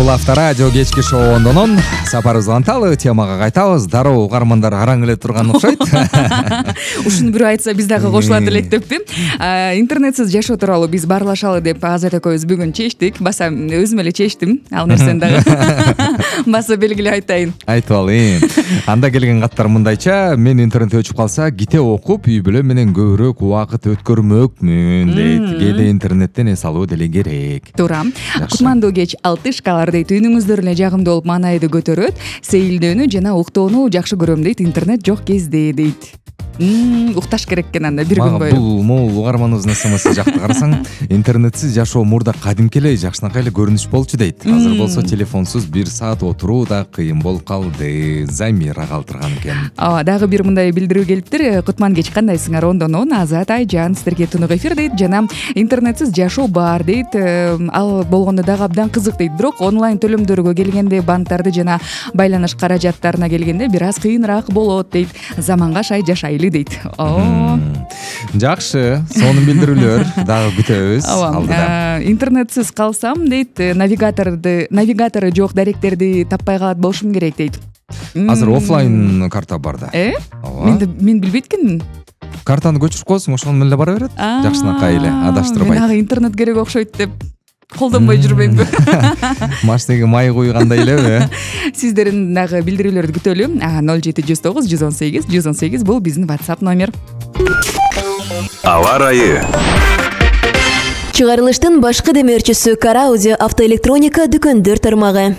Бул Авторадио кечки шоуунун сапарыбыз анталы темага кайтабыз. Дароо угармандар араң эле турган окшойт. Ушуну бирөө айтса биз дагы кошулат элек деппи. Интернетсиз жашоо тууралуу биз баарлашалы деп Азат экөөбүз бүгүн чечтик. Баса өзүм эле чечтим. Ал нерсени дагы баса белгилеп айтайын. Айтып алайын. Анда келген каттар мындайча: мен интернет өчүп калса, китеп окуп, үй бүлө менен көбүрөөк убакыт өткөрмөкмүн дейт. Кээде интернеттен эс алуу деле керек. Туура. Кутмандуу кеч 6 шкалар дейт. Үнүңүздөр эле жагымдуу болуп маанайды көтөрөт. Сейилдөөнү жана уктоону жакшы көрөм дейт. Интернет жок кезде дейт. Укташ керек экен анда бир күн бою. Бул могул угарманыбыздын СМС жакты карасаң, интернетсиз жашоо мурда кадимки эле жакшынакай эле көрүнүш болчу дейт. Азыр болсо телефонсуз 1 саат отуруу да кыйын болуп калды. Замира калтырган экен. Дагы бир мындай билдирүү келиптир. Кутман кеч кандайсыңар? Ондонон Азат Айжан сиздерге тунук эфир дейт. Жана интернетсиз жашоо бар дейт. Ал болгондо дагы абдан кызык дейт. Бирок онлайн төлөмдөргө келгенде, банктарды жана байланыш каражаттарына келгенде бир аз кыйыныраак болот дейт. Заманга сай жашайлы дейт. Жакшы, сонун билдирүүлөр дагы күтөбүз. Интернетсиз калсам дейт, навигатору жок даректерди таппай калат болушум керек дейт. Азыр офлайн карта бар да. Мен билбейт экенмин. Картаны көчүрүп коесуң, ошону менен эле бара берет. Жакшынакай эле адаштырбайт. Мен ага интернет керек окшойт деп колдонбой жүрбөймбү. Машинеге май куйгандай элеби? Сиздердин дагы билдирүүлөрдү күтөлү. 0709 118 118 бул биздин WhatsApp номер. Аба ырайы. Чыгарылыштын башкы демөөрчүсү Караудио автоэлектроника дүкөндөр тармагы.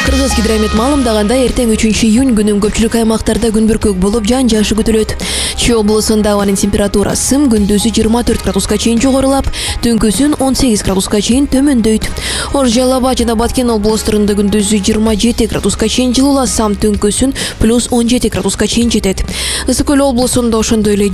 Кыргызгидромет маалымдагандай, эртең 3-июнь күнү көпчүлүк аймактарда күн бүркөк болуп, жаан-жашы күтүлөт. Чүй облусунда абанын температурасы күндүзү 24 градуска чейин жогорулап, түнкүсүн 18 градуска чейин төмөндөйт. Ош, Жалал Абад жана Баткен облустарында күндүзү 27 градуска чейин жылууласам, түнкүсүн +17 градуска чейин жетет. Ысык Көл облусунда ошондой эле